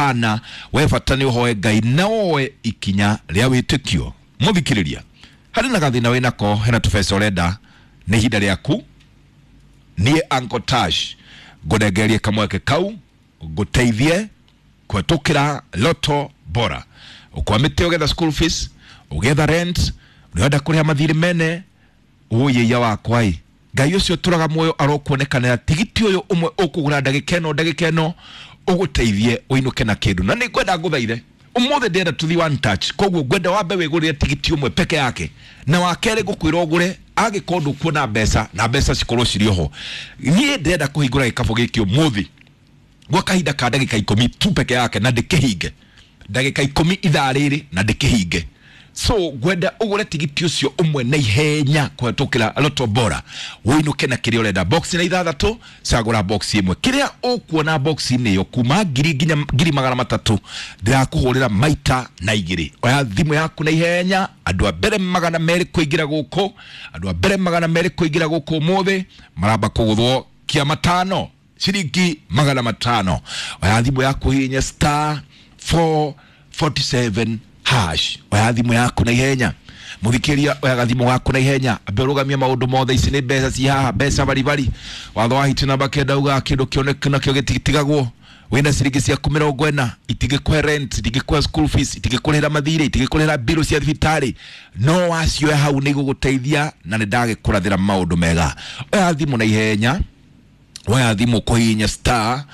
ũhana, we bata nĩ ũhoe Ngai na woe ikinya rĩa wĩtĩkio. Mũthikĩrĩria, harĩ na gathĩna wĩnako, hena tũbeca ũrenda, nĩ ihinda rĩaku. Niĩ Uncle Tash ngũnengererie kamweke kau ngũteithie kũhetũkĩra Loto Bora. Ũkwamĩte ũgetha school fees, ũgetha rent, ũrenda kũrĩha mathirĩ mene, ũyĩia wakwa ĩ Ngai ũcio ũtũraga muoyo arokuonekanĩra tigiti ũyũ ũmwe ũkũgũra ndagĩka ĩno, ndagĩka ĩno ũgũteithie ũinũke na kĩndũ. Na nĩ ngwenda ngũthaithe ũmũthĩ, ndĩrenda tũthi one touch, koguo ngwenda wambe wĩgũrĩre tigiti ũmwe peke yake, na wa kerĩ ngũkwĩra ũgũre angĩkorwo ndũkuona mbeca na mbeca cikorwo cirĩ oho. Niĩ ndĩrenda kũhingũra gĩkabũ gĩkĩ ũmũthĩ gwa kahinda ka ndagĩka 10 tu peke yake, na ndĩkĩhinge ndagĩka 10 ithaa rĩrĩ na ndĩkĩhinge. So ngwenda ũgũre tigiti ũcio ũmwe na ihenya kũhetũkĩra Loto Bora, ũinũke na kĩrĩa ũrenda. Box na ithathatũ, cagũra box ĩmwe, kĩrĩa ũkuona box-inĩ ĩyo kuma 1,000 nginya 300,000, ndĩrakũhũrĩra maita na igĩrĩ. Oya thimũ yaku na ihenya. Andũ a mbere 200 kũingĩra gũkũ, andũ a mbere 200 kũingĩra gũkũ ũmũthĩ maramba kũgũthwo kia matano, ciringi 500. Oya thimũ yaku, hihinya star 447 hash. Oya thimũ yaku na ihenya, mũthikĩria, oya gathimũ gaku na ihenya, ambe ũrũgamie maũndũ mothe. Ici nĩ mbeca ci haha, mbeca baribari. Watho wa hiti namba 9 ugaga kĩndũ kĩoneku nakĩo gĩtitigagwo. Wĩna ciringi ciaku 40, itingĩkũhe rent, itingĩkũhe school fees, itingĩkũrĩhĩra mathirĩ, itingĩkũrĩhĩra mbirũ cia thibitarĩ, no wacioya hau nĩ igũgũteithia, na nĩ ndagĩkũrathĩra maũndũ mega. Oya thimũ na ihenya, woya thimũ kũhihinya star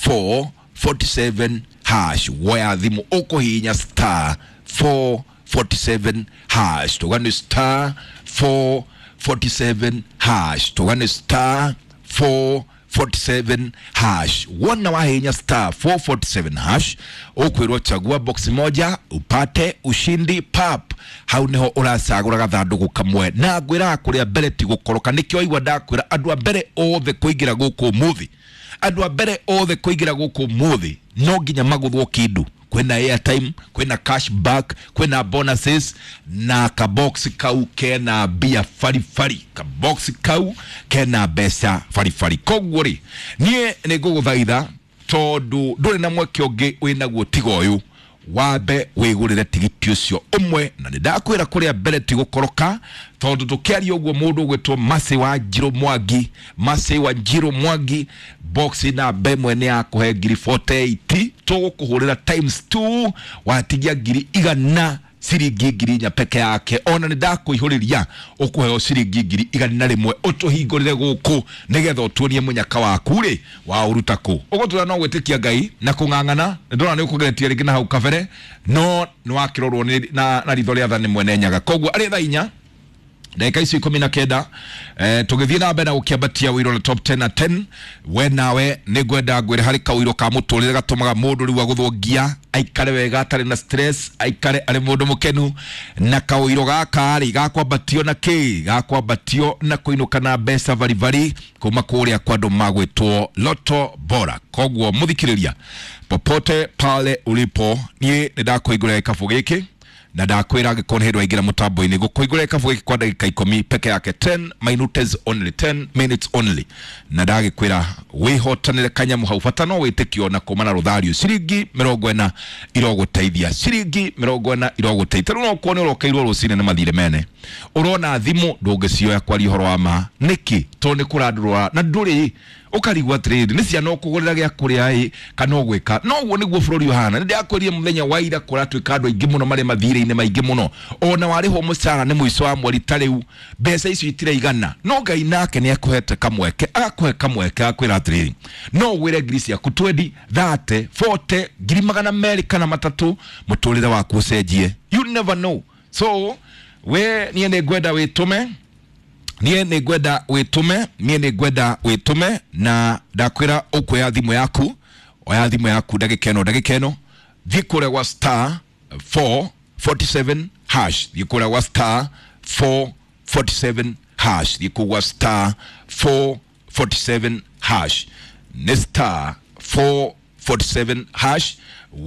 447 hash. Woya thimũ ũkũhihinya star 447 hash. Tuga nĩ star 447 hash, tuga nĩ star 447 hash. Wona wahihinya star 447 hash, ũkwĩrwo chagua box moja upate ushindi pap. Hau niho ũracagũra gathandũkũ kamwe, na ngwĩraga kũrĩa mbere ti gũkoroka. Nĩkĩo waigua ndakwĩra andũ a mbere othe kũingĩra gũkũ ũmũthĩ, andũ a mbere othe kũingĩra gũkũ ũmũthĩ no nginya magũthwo kĩndũ. Kwĩna airtime, kwĩna cash back, kwĩna bonuses, na kabox kau kena mbia baribari, kabox kau kena mbeca baribari. Koguo rĩ, niĩ nĩ ngũgũthaitha, tondũ ndũrĩ na mweke ũngĩ wĩnaguo tiga ũyũ, wambe wĩgũrĩre tigiti ũcio ũmwe, na nĩ ndakwĩra kũrĩa mbere ti gũkoroka, tondũ tũkĩaria ũguo mũndũ ũgwĩtwo Mercy wa Njirũ Mwangi, Mercy wa Njirũ Mwangi, box namba 1 nĩ yakũhe ngiri 48, tũgũkũhũrĩra times 2, watigia 100,000, ciringi 4,000 peke yake. Ona nĩ ndakũihũrĩria, ũkũheo ciringi 101,000 ũtũhingũrĩre gũkũ nĩgetha ũtuonie mũnyaka waku rĩ wa ũruta kũ. Ũgũtũra no gwĩtĩkia Ngai na kũng'ang'ana. Nĩ ndona nĩ ũkũgeretie rĩngĩ na hau kabere, no nĩ wakĩrorwo nĩ na ritho rĩa tha nĩ mwene Nyaga. Koguo arĩ thaa 4 ndagĩka icio 19, tũgĩthiĩ na mbere na gũkĩambatia wĩiro na top 10 na 10. We nawe nĩ ngwenda ngwĩre harĩ kawĩiro ka mũtũrĩre gatũmaga mũndũ rĩu agũthwo ngia aikare wega atarĩ na stress, aikare arĩ mũndũ mũkenu. Na kawĩiro gaka rĩ, gakwambatio na kĩ? Gakwambatio na kũinũka na mbeca baribari kuma kũrĩa kwa andũ magwĩtwo Loto Bora. Koguo mũthikĩrĩria, popote pale ulipo, niĩ nĩ ndakũhingũrĩra gĩkabũ gĩkĩ, na ndakwĩra angĩkorwo nĩ hĩndĩ waingĩra mũtambo-inĩ, gũkũhingũrĩra gĩkabũ gĩkĩ kwa ndagĩka 10 peke yake, 10 minutes only, 10 minutes only, na ndagĩkwĩra wĩhotanĩre kanyamũ hau. Bata no wĩtĩkio na kuma na rũthario. Ciringi 40 irogũteithia, ciringi 40 irogũteithia. Rĩu no kuo nĩ ũrokeirwo rũcinĩ nĩ mathirĩ mene, ũrona thimũ ndũngĩcioya kwaria ũhoro wa ma. Nĩkĩ? Tondũ nĩ kũrandũrwa na ndũrĩ ũkarigwo atĩrĩrĩ, nĩ ciana ũkũgũrĩra gĩa kũrĩa ĩ kana ũgwĩka. No ũguo nĩguo bũrũri ũhana. Nĩ ndĩrakwĩrire mũthenya wa ira kũratuĩka andũ aingĩ mũno marĩ mathirĩ-inĩ maingĩ mũno, ona warĩhwo mũcara nĩ mũico wa mweri ta rĩu mbeca icio itiraigana. No Ngai nake nĩ akũhete kamweke, agakũhe kamweke, agakwĩra atĩrĩrĩ, no ũgwĩre ngiri ciaku 20, 30, 40, 200,000 kana 300, mũtũrĩre waku ũcenjie. You never know. So we niĩ nĩ ngwenda wĩtũme, niĩ nĩ ngwenda wĩtũme, niĩ nĩ ngwenda wĩtũme, na ndakwĩra ũkuoya thimũ yaku. Oya thimũ yaku ndagĩka ĩno, ndagĩka ĩno, thiĩ kũrĩa gwa star 447 hash, thiĩ kũrĩa gwa star 447 hash, thiĩ kũu gwa star 447 hash, nĩ star 447 hash,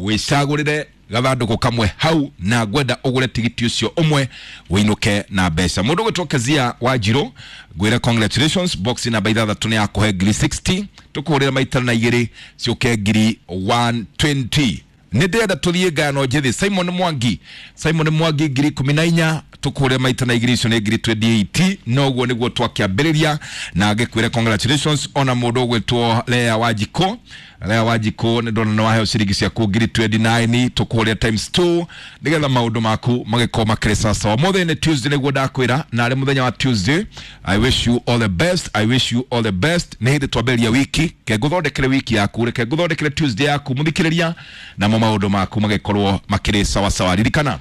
wĩcagũrĩre gathandũkũ kamwe hau, na ngwenda ũgũre tigiti ũcio ũmwe wĩinũke na mbeca. Mũndũ ũgwĩtwo Kezia wa Njirũ, ngwĩre congratulations, box namba 6 nĩ yakũhe ngiri 60, tũkũhũrĩra maita na igĩrĩ ciũke ngiri 120. Nĩ ndĩrenda tũthiĩ ngano njĩthĩ. Simon Mwangi, Simon Mwangi 14,000 tũkũrĩa maita na igĩrĩ, icio nĩ 28,000. Noguo nĩguo twakĩambĩrĩria na ngĩkwĩre congratulations. Ona mũndũ ũgwĩtwo Lea Wanjikũ, Lea Wanjikũ nĩ ndona nĩ waheo ciringi ciaku 29,000, tũkũrĩa times 2 nĩgetha maũndũ maku magĩkorwo makĩrĩ sawa. Ũmũthĩ nĩ Tuesday nĩguo ndakwĩra, na arĩ mũthenya wa Tuesday, I wish you all the best, I wish you all the best. Nĩ hĩndĩ twambĩrĩria wiki, ke ngũthondekere wiki yaku, reke ngũthondekere Tuesday yaku mũthikĩrĩria, namo maũndũ maku magĩkorwo makĩrĩ sawa sawa. Ririkana,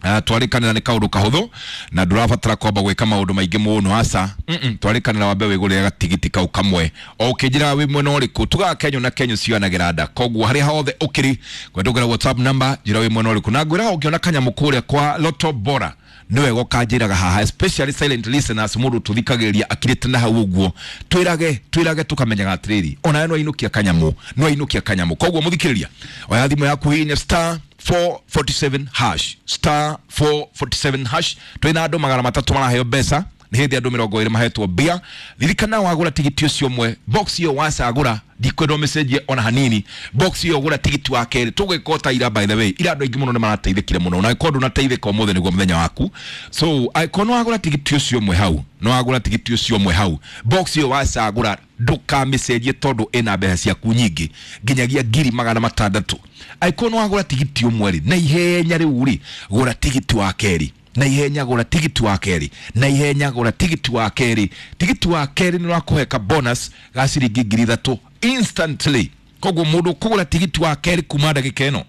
twarĩkanĩra nĩ kaũndũ kahũthũ na ndũrabatara kwamba gwĩka maũndũ maingĩ mũno, aca. Twarĩkanĩra wambe wĩgũrĩre gatigiti kau kamwe o ũkĩnjĩraga wĩ mwena ũrĩkũ. Tugaga kenyũ na kenyũ cionagĩra nda, koguo harĩa hothe ũkĩrĩ kwendũngĩra WhatsApp number, njĩra wĩ mwena ũrĩkũ, na ngwĩraga ũngĩona kanyamũ kũrĩa kwa Lotto Bora nĩ wega ũkanjĩraga haha, especially silent listeners, mũndũ tũthikagĩrĩria akirĩte na hau ũguo, twĩrage twĩrage tũkamenyaga atĩrĩrĩ, onawe no ainũkia kanyamũ, no ainũkia kanyamũ. Koguo mũthikĩrĩria, oya thimũ yaku, hihinya star 447 hash, star 447 hash. Twĩna andũ 300 maraheo mbeca, nĩ hĩndĩ andũ 20 mahetwo mbia. Ririkana wagũra tigiti ũcio ũmwe, box ĩyo wacagũra, ndikwenda ũmĩcenjie ona hanini. Box ĩyo gũra tigiti wa kerĩ, tũgwĩka ta ira. By the way, ira andũ aingĩ mũno nĩ marateithĩkire mũno, na angĩkorwo ndũnateithĩka, ũmũthĩ nĩguo mũthenya waku. So angĩkorwo nĩ wagũra tigiti ũcio ũmwe hau, nĩ wagũra tigiti ũcio ũmwe hau, box ĩyo wacagũra ndũkamĩcenjie tondũ ĩna mbeca ciaku nyingĩ nginyagia 600,000. Angĩkorwo nĩ wagũra tigiti ũmwe rĩ, na ihenya rĩu rĩ, gũra tigiti wa kerĩ na ihenya, gũra tigiti wa kerĩ na ihenya, gũra tigiti wa kerĩ. Tigiti wa kerĩ nĩ ũrakũhe ka bonus ga ciringi 3,000 instantly. Koguo mũndũ kũgũra tigiti wa kerĩ kuma ndagĩka ĩno,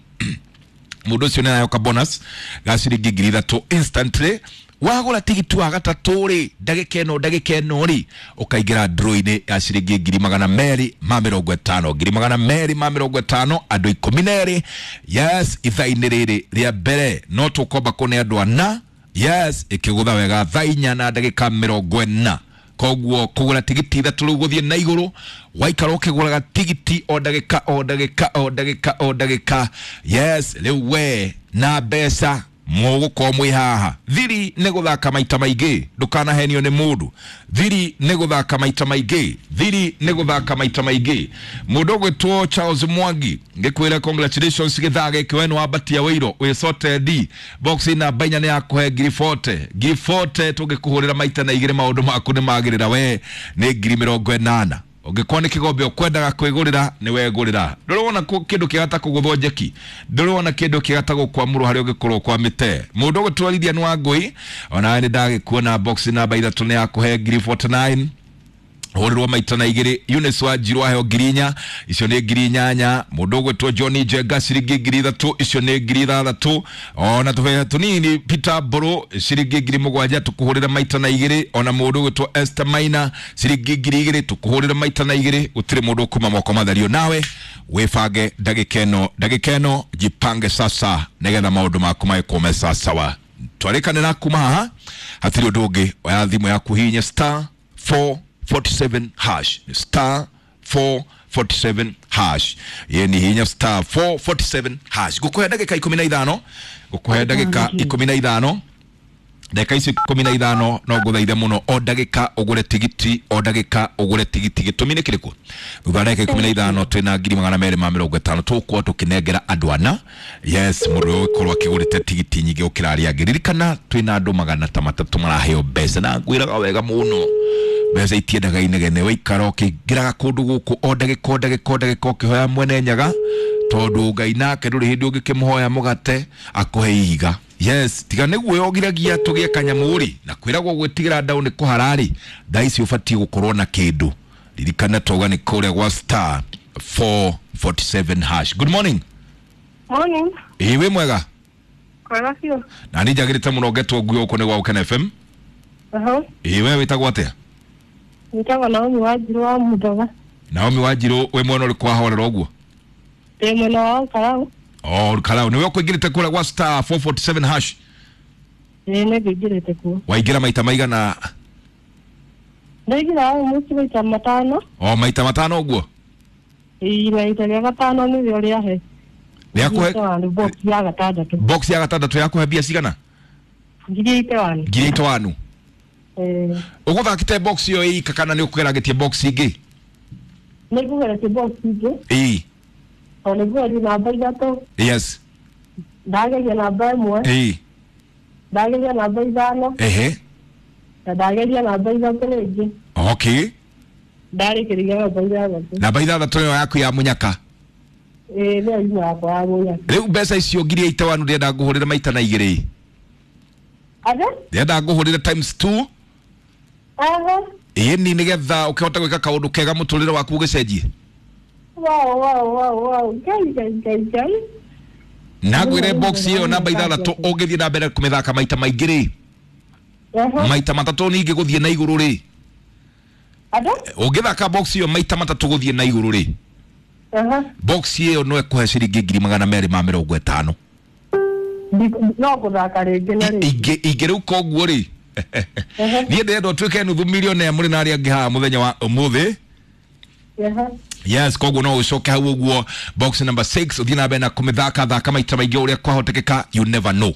mũndũ ũcio nĩ arayoka bonus ga ciringi 3,000 instantly. Wagũra tigiti wa gatatũ rĩ, ndagĩka ĩno, ndagĩka ĩno rĩ, ũkaingĩra draw-inĩ ya ciringi 250,000, 250,000, andũ 12. Yes, ithaa-inĩ rĩrĩ rĩa mbere no tũkomba kũne andũ ana. Yes, ĩkĩgũtha wega thaa 4:40. Koguo kũgũra tigiti ithatũ rĩu gũthiĩ na igũrũ, waikara ũkĩgũraga tigiti o ndagĩka, o ndagĩka, o ndagĩka, o ndagĩka. Yes, rĩu we na mbeca mũgũkorwo mwĩ haha. Thiri nĩ gũthaka maita maingĩ, ndũkanahenio nĩ mũndũ. Thiri nĩ gũthaka maita maingĩ, thiri nĩ gũthaka maita maingĩ. Mũndũ ũgwĩtwo Charles Mwangi, ngĩkwĩra congratulations. Gĩthaa gĩkĩ we nĩ wambatia wĩiro wĩ sorted. Box namba 4 nĩ yakũhe 40,000, 40,000. Tũngĩkũhũrĩra maita na igĩrĩ, maũndũ maku nĩ magĩrĩra, we nĩ 80,000. Ũngĩkorwo nĩ kĩgombe ũkwendaga kwĩgũrĩra, nĩ wegũrĩra. Ndũrĩ wona kĩndũ kĩega ta kũgũthwo njeki, ndũrĩ wona kĩndũ kĩega ta gũkwamũrwo harĩa ũngĩkorwo ũkwamĩte. Mũndũ ũgũtwo Lilian Wangũi, onawe nĩ ndagĩkuona. Box namba 3 nĩ yakũhe 49,000, hũrĩrwo maita na igĩrĩ. Eunice Wanjiru aheo 4,000, icio nĩ 8,000. Mũndũ ũgwĩtwo John Njenga ciringi 3,000, icio nĩ 6,000. Ona tũbeca tũnini, Peter Mbũrũ ciringi 7,000, tũkũhũrĩra maita na igĩrĩ. Ona mũndũ ũgwĩtwo Esther Maina ciringi 2,000, tũkũhũrĩra maita na igĩrĩ. Gũtirĩ mũndũ ũkuma moko matherio. Nawe wĩbange ndagĩka ĩno, ndagĩka ĩno, jipange sasa nĩgetha maũndũ maku magĩkorwo me sawasawa. Twarĩkanĩra kuma haha, hatirĩ ũndũ ũngĩ. Oya thimũ yaku, hihinya star 447 hash, star 447 hash. Ye ni hinya star 447 hash. Ngũkũhe ndagĩka 15, ngũkũhe ndagĩka 15. Ndagĩka icio 15 no ngũthaithe mũno, o ndagĩka ũgũre tigiti, o ndagĩka ũgũre tigiti. Gĩtũmi nĩ kĩrĩkũ? Thutha wa ndagĩka 15 twĩna 250,000 tũgũkorwo tũkĩnengera andũ ana. Yes, mũndũ ũyũ ũgĩkorwo akĩgũrĩte tigiti nyingĩ gũkĩra arĩa angĩ. Ririkana twĩna andũ 300 maraheo mbeca, na ngwĩraga wega mũno, mbeca itiendaga inegene. Waikara ũkĩingĩraga kũndũ gũkũ o ndagĩka, o ndagĩka, o ndagĩka, ũkĩhoya mwene Nyaga, tondũ Ngai nake ndũrĩ hĩndĩ ũngĩkĩmũhoya mũgate akũhe ihiga. Yes, tiga nĩguo yogiragia tũgĩe kanyamũ rĩ, na kwĩragwo gwĩtigĩra ndaũ nĩ kũhara rĩ. Thaa ici ũbatiĩ gũkorwo na kĩndũ. Ririkana twauga nĩ kũrĩa gwa star 447 hash. Good morning. Morning. Ĩĩ, wĩ mwega? Kwega biũ. Na nĩ njagĩrĩte mũno ngetwo nguo gũkũ nĩ gwa Gũkena FM. Aha. Ĩĩ, we wĩtagwo atĩa? Njĩtagwo Naomi Wanjiru wa Mũthoga. Naomi Wanjiru, wĩ mwena ũrĩkũ wahorera ũguo? Ndĩ mwena wa Karau. Oh, Karau nĩwe ũkũingĩrĩte kũrĩa gwa star 447 hash? Ĩĩ, nĩ ngĩingĩrĩte kuo. Waingĩra maita maigana? Ndaingĩra mũciĩ maita matano. O maita matano ũguo? Ĩĩ, na ita rĩa gatano nĩrĩo rĩahe. Rĩakũhe? Box ya gatandatũ. Box ya gatandatũ yakũhe mbia cigana? 81,000. 81,000? Ĩĩ. Ũgũthakĩte box ĩyo ĩika kana nĩ ũkũgeragĩtie box ingĩ? Nĩ ngũgeretie box ingĩ. Ĩĩ. Tondũ nĩguo namba 3. Yes. Ndageria namba 1. Ĩĩ. Ndageria namba 5. Ehe. Na ndageria namba 3 rĩngĩ. Okay. Ndarĩkĩrĩria namba 6. Namba 6 nĩyo yaku ya mũnyaka. Ĩĩ nĩyo imwe yakwa ya mũnyaka. Rĩu mbeca icio 81,000 ndĩrenda ngũhũrĩre maita na 2. Ate? Ndĩrenda ngũhũrĩre times 2. Aha. Ĩni nĩgetha ũkĩhota gwĩka kaũndũ kega mũtũrĩre waku ũgĩcenjie. Wow, wow, wow, wow. Ngai, Ngai, Ngai, Ngai. Na ngwĩre box ĩyo namba 6 ũngĩthiĩ na mbere kũmĩthaka maita maingĩ rĩ, Aha. maita matatũ ningĩ gũthiĩ na igũrũ rĩ, Ate? ũngĩthaka box ĩyo maita matatũ gũthiĩ na igũrũ rĩ, Aha. box ĩyo no ĩkũhe ciringi 250,000. No gũthaka rĩngĩ na rĩngĩ. Ingĩ ingĩ rĩu koguo rĩ, Aha. niĩ ndĩrenda ũtuĩke nuthu millionaire mũrĩ na arĩa angĩ haha mũthenya wa ũmũthĩ. Aha. Yes, koguo no ũcoke hau ũguo box number 6 ũthiĩ na mbere na kũmĩthaka thaka maita maingĩ ũrĩa kwahotekeka, you never know.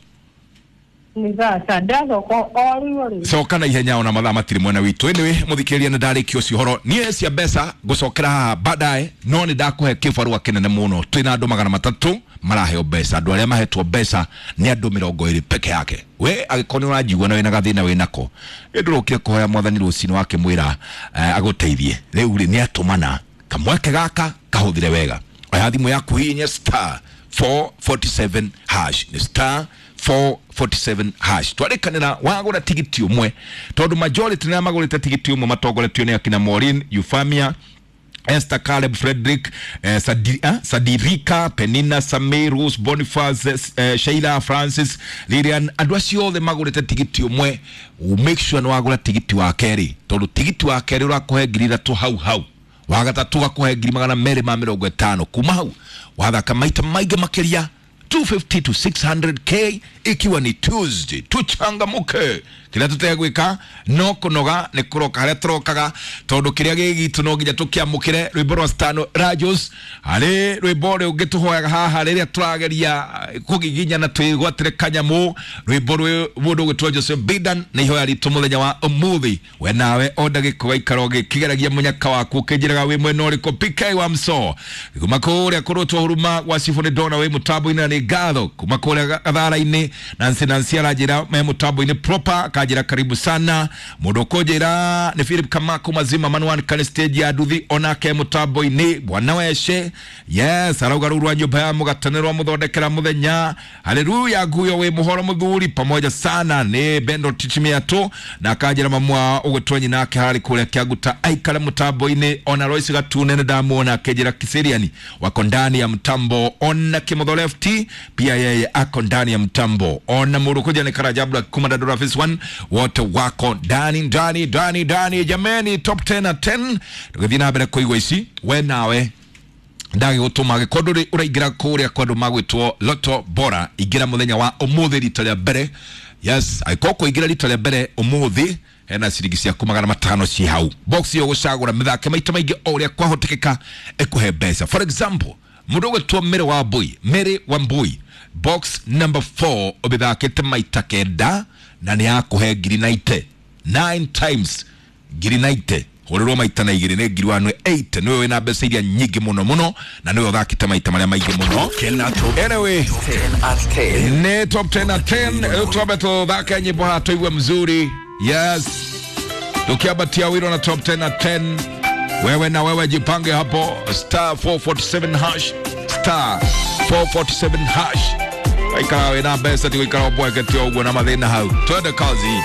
Nĩ thaa ndacoka o rĩu o rĩu. Coka na ihenya ona mathaa matirĩ mwena witũ. Anyway, mũthikĩrĩria nĩ ndarĩkia ũcio ũhoro niĩ cia mbeca ngũcokera haha baadaye, no nĩ ndakũhe kĩbarũa kĩnene mũno. Twĩna andũ 300 maraheo mbeca, andũ arĩa mahetwo mbeca nĩ andũ 20 peke yake. We angĩkorwo nĩ ũranjigua na wĩna gathĩna wĩnako, ĩndũrũkire kũhoya mwathani rũcinĩ wakĩmwĩra agũteithie. Rĩu rĩ nĩ atũmana kamweke gaka kahũthĩre wega. Oya thimũ yaku hihinya star 447 hash, nĩ star 447 hash. Twarĩkanĩra wagũra tigiti ũmwe, tondũ majority nĩ magũrĩte tigiti ũmwe matongoretio nĩ akina Maureen, Euphemia, Esther, Caleb, Frederick, Sadirika, Penina, Samir, Rose, Boniface, Sheila, Francis, Lilian, andũ acio othe magũrĩte tigiti ũmwe. Make sure nĩ wagũra tigiti wa kerĩ, tondũ tigiti wa kerĩ ũrakũhe 3,000 hau hau, wa gatatũ gakũhe 250,000. Kuma hau wathaka maita maingĩ makĩria 250 to 600k, ikiwa ni Tuesday. Tuchangamuke, kĩrĩa tũtegwĩka no kũnoga nĩ kũroka harĩa tũrokaga, tondũ kĩrĩa gĩ gitũ no nginya tũkĩamũkĩre. Rwĩmbo rwa Stano Rajos harĩ rwĩmbo rũngĩ tũhoyaga haha rĩrĩa tũrageria kũgiginyana twĩgwatĩre kanyamũ, rwĩmbo rwĩ mũndũ ũgwĩtwo Joseph Bidan nĩ ihoya ritũ mũthenya wa ũmũthĩ. We nawe o ndagĩka ũgaikara ũgĩkĩgeragia mũnyaka waku ũkĩnjĩraga wĩ mwena ũrĩkũ. PK wa Mso kuma kũrĩa kũrũtwo huruma gwa Cibũ nĩ ndona wĩ mũtambo-inĩ na nĩ ngatho. Kuma kũrĩa gathara-inĩ Nancy Nancy aranjĩra me mũtambo-inĩ proper, akanjĩra karibu sana. Mũndũ ũkũnjĩra nĩ Philip Kamako mazima Manuan kani stage ya nduthi onake mũtambo-inĩ. Bwana weshe yes arauga rũu rwa nyũmba ya mũgatane rwa mũthondekera mũthenya. Haleluya nguyo wĩ mũhoro mũthuri pamoja sana nĩ Bendo Tichimiato na akanjĩra mamwa ũgwĩtwo nyina ake harĩ kũrĩa Kĩanguta aikare mũtambo-inĩ. Ona Royce Gatune nĩ ndamuona akĩnjĩra Kiseriani wako ndani ya mtambo. Ona Kimotho Lefty pia yeye ako ndani ya mtambo. Ona Murukuja ni Karajabla kuma Dadora Phase 1 wote wako ndani ndani ndani ndani. Jameni, top 10 at 10 tũgĩthiĩ na mbere kũigua ici. We nawe ndagĩgũtũma angĩkorwo ndũrĩ ũraingĩra kũrĩa kwa andũ magwĩtwo Lotto Bora, ingĩra mũthenya wa ũmũthĩ rita rĩa mbere. Yes, angĩkorwo kũingĩra rita rĩa mbere ũmũthĩ hena ciringi ciaku 500 ci hau box ĩyo gũcagũra mĩthake maita maingĩ o ũrĩa kwahotekeka ĩkũhe mbeca. For example, mũndũ ũgwĩtwo Mary Wambui, Mary Wambui box number 4 ũmĩthakĩte maita 9 na nĩ yakũhe 90,000, 9 times 90,000 hũrĩrwo maita na 2 nĩ 180,000. Nĩwe wĩna mbeca iria nyingĩ mũno mũno na nĩwe ũthakĩte maita marĩa maingĩ mũno. Anyway, 10 at 10. ni top 10 at 10. Rĩu twambe tũthake nyĩmbo haha tũigue mzuri. Yes, tukiambatia wiro na top 10 at 10. Wewe na wewe jipange hapo star 447 hash, star 447 hash. Waikara wĩna mbeca ti gũikara ũmbwekete ũguo na mathĩna hau. Twende kazi.